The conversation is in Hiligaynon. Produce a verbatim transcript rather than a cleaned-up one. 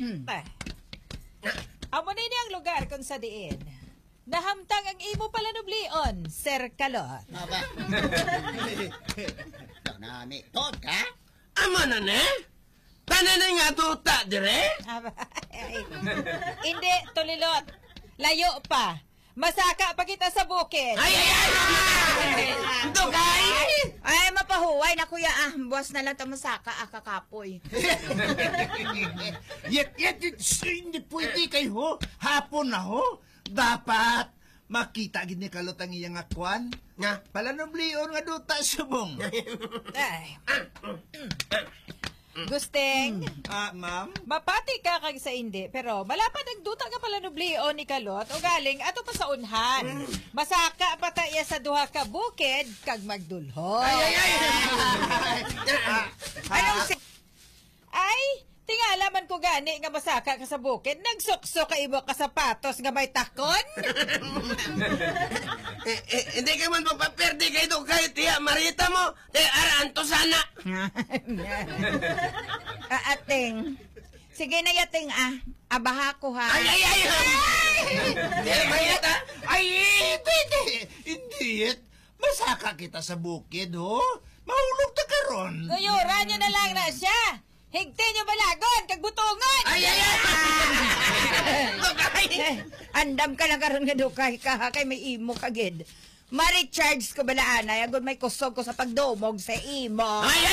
Hmm. Ah. Amo na ini ang lugar kung sa diin nahamtang ang imo palanublion, Sir Kalot. Aba. Ito na, may tod ka? Amo na ni? Tanan na nga duta dire? Aba, ay. Hindi, Tulilot. Layo pa. Masaka pa kita sa bukid. Ay, ay, ay, ay! Dugay! Ay, mapahuway na, kuya, ah. Buwas na lang ta masaka, ah, kakapoy. Yet, yet, yet, sh-, hindi pwede kay ho. Hapon na ho. Dapat makita gid ni Kalot ang iya nga kwan. Nga? Palanublion nga duta subong. Ay. Gusteng, Ah, ma'am? Mapati ka kag sa indi, pero malapad ang duta nga palanublion ni Kalot, ugaling ato pa sa unhan. Masaka pa ta iya sa duha ka bukid kag magdulhon. Ay, ay, ay! Ah, Anong ah, si-, ay, tingala man ko gani nga masaka ka sa bukid, nagsuksok ka imo ka sapatos nga may takon? Eh, eh, hindi ka man magpaperde kay Dugay, tiya, marita mo. Te, ara, anto sana. Ah, Ateng. Sige na, Yating, ah. Abaha ko, ha? Ay, ay, ay, ay! Di, mayat, ah! Ay, hindi, hindi. Hindi, masaka kita sa bukid, ho. Mahulog ta karon. Tuyuran nyo na lang na siya. Higti nyo balagon, kag butongon. Ay, ay, ay! Dugay! Eh, andam ka lang karon nga dukay ka, ha? Kay may imo ka gid. Ma-recharge ko bala anay, agod may kusog ko sa pagdumog sa imo. Ay, ay!